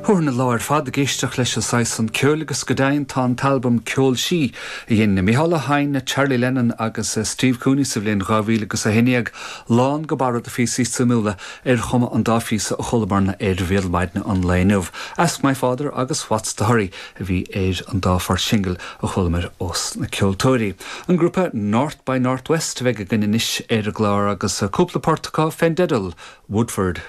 Thabharfainn an lá ar fad ag éisteacht leis an saghas san ceoil agus go deimhin tá an t-albam Ceol Sí a dhein Mícheál Ó hEidhin, Charlie Lennon agus Steve Cooney sa bhliain 2011 lán go barra de phíosaí suimiúla ar chuma an dá phíosa a chualamarna ar Bhéal Maidine an lae inniu. Ask My Father agus What's the Hurry a bhí ar an dá phort singil a chualamar ós na ceoltóirí. An grúpa North by North West a bheidh againn anois ar an gclár agus cúpla port acu fén dteideal Woodford.